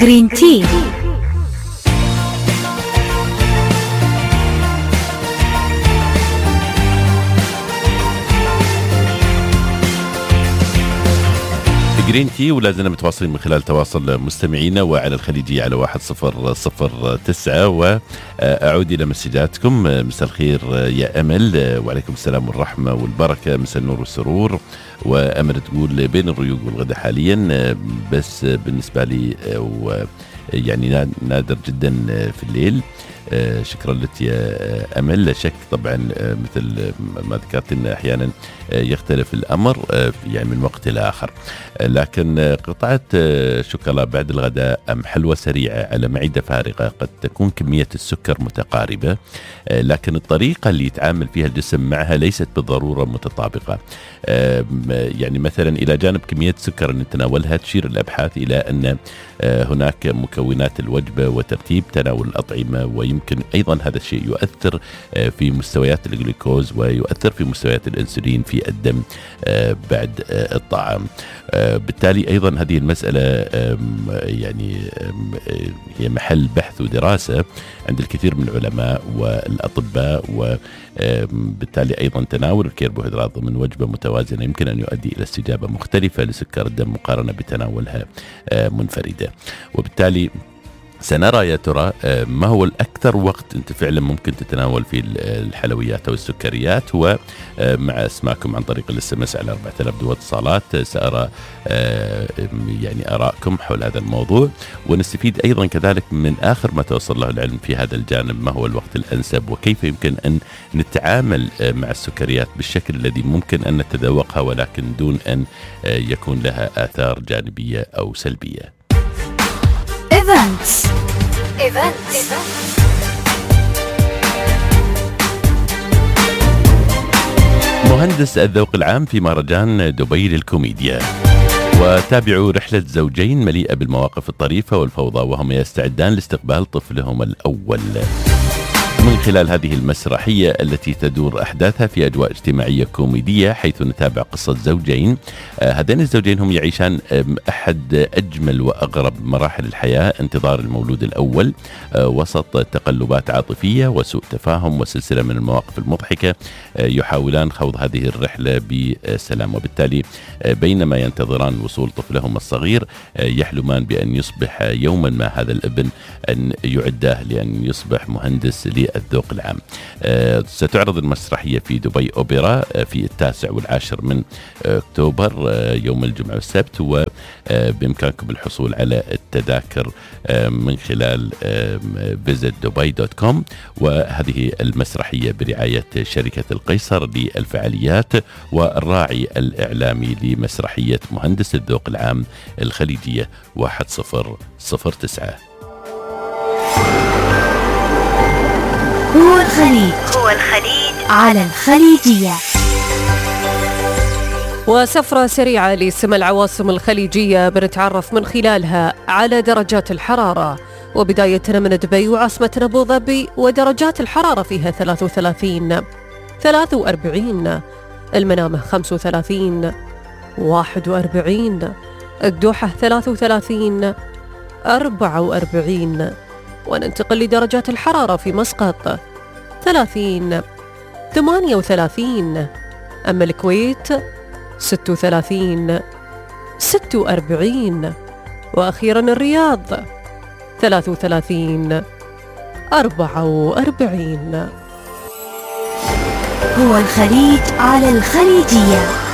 جرين تي. جرين تي، ولازلنا متواصلين من خلال تواصل مستمعينا وعلى الخليجية على 1009. وأعود إلى مسجاتكم. مساء الخير يا أمل، وعليكم السلام والرحمة والبركة، مساء النور والسرور. وأمل تقول بين الريوق والغدا حاليا، بس بالنسبة لي يعني نادر جدا في الليل. شكرا لك يا أمل. لا شك طبعا مثل ما ذكرت إن أحيانا يختلف الأمر يعني من وقت إلى آخر، لكن قطعة شوكولا بعد الغداء أم حلوى سريعة على معدة فارغة قد تكون كمية السكر متقاربة، لكن الطريقة اللي يتعامل فيها الجسم معها ليست بالضرورة متطابقة. يعني مثلا إلى جانب كمية سكر نتناولها، تشير الأبحاث إلى أن هناك مكونات الوجبة وترتيب تناول الأطعمة، ويمكن أيضا هذا الشيء يؤثر في مستويات الجلوكوز ويؤثر في مستويات الأنسولين في الدم بعد الطعام. بالتالي أيضا هذه المسألة يعني هي محل بحث ودراسة عند الكثير من العلماء والأطباء، وبالتالي أيضا تناول الكربوهيدرات ضمن وجبة متوازنة يمكن أن يؤدي إلى استجابة مختلفة لسكر الدم مقارنة بتناولها منفردة. وبالتالي سنرى يا ترى ما هو الأكثر وقت أنت فعلا ممكن تتناول فيه الحلويات أو السكريات. هو مع اسماءكم عن طريق الاس على 4000 دو اتصالات سأرى يعني آراءكم حول هذا الموضوع، ونستفيد أيضا كذلك من آخر ما توصل له العلم في هذا الجانب، ما هو الوقت الأنسب وكيف يمكن أن نتعامل مع السكريات بالشكل الذي ممكن أن نتذوقها ولكن دون أن يكون لها آثار جانبية أو سلبية. Events. مهندس الذوق العام في مهرجان دبي للكوميديا. وتابعوا رحلة زوجين مليئة بالمواقف الطريفة والفوضى وهم يستعدان لاستقبال طفلهم الأول من خلال هذه المسرحية التي تدور أحداثها في أجواء اجتماعية كوميدية، حيث نتابع قصة زوجين. هذين الزوجين هم يعيشان أحد أجمل وأغرب مراحل الحياة، انتظار المولود الأول وسط تقلبات عاطفية وسوء تفاهم وسلسلة من المواقف المضحكة. يحاولان خوض هذه الرحلة بسلام، وبالتالي بينما ينتظران وصول طفلهم الصغير يحلمان بأن يصبح يوما ما هذا الابن أن يعده لأن يصبح مهندس الذوق العام. ستعرض المسرحية في دبي أوبرا في 9 و10 من أكتوبر يوم الجمعة والسبت، وبإمكانكم الحصول على التذاكر من خلال visitdubai.com. وهذه المسرحية برعاية شركة القيصر للفعاليات والراعي الإعلامي لمسرحية مهندس الذوق العام الخليجية 1009. هو الخليج على الخليجية. وسفرة سريعة لسمى العواصم الخليجية بنتعرف من خلالها على درجات الحرارة، وبدايتنا من دبي وعاصمتنا أبو ظبي، ودرجات الحرارة فيها 33 43، المنامة 35 41، الدوحة 33 44. وننتقل لدرجات الحرارة في مسقط 30 38، أما الكويت 36 46، وأخيرا الرياض 33 44. هو الخليج على الخليجية.